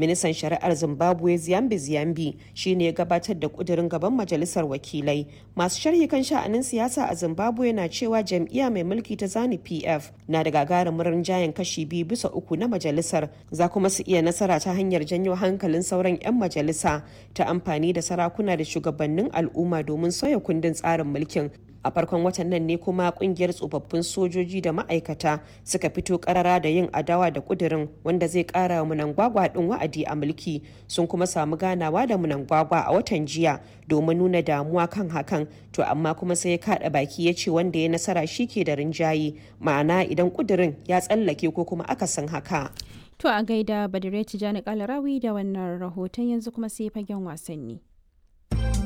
Ministan Shari'ar Zimbabwe Ziyambi Ziyambi shine ya gabatar da kudirin gaban majalisar wakilai. Masu sharhi kan sha'anin siyasa a Zimbabwe na cewa jam'iyya mai mulki ta Zanu PF na da gagarumin rinjayen kashi 2 bisa 3 na majalisar, za kuma su iya nasara ta hanyar janyo hankalin sauran 'yan majalisa ta amfani da sarakuna da shugabannin al'umma domin sauya kundin tsarin mulkin. A farkon watan nan ne kuma kungiyar tsofaffin sojoji da ma'aikata suka fito karara da yin adawa da kudirin wanda zai kara wa Mnangagwa din wa'adi a mulki. Sun kuma samu ganawa da Mnangagwa a watan jiya domin nuna damuwa kan hakan. To amma kuma sai ya kada baki ya ce wanda ya nasara shi ke da rinjaye, ma'ana idan kudirin ya tsallake ko kuma akasin haka. To a gaida Badire Tijani Kalarawi da wannan rahoton. Yanzu kuma sai fagen wasanni.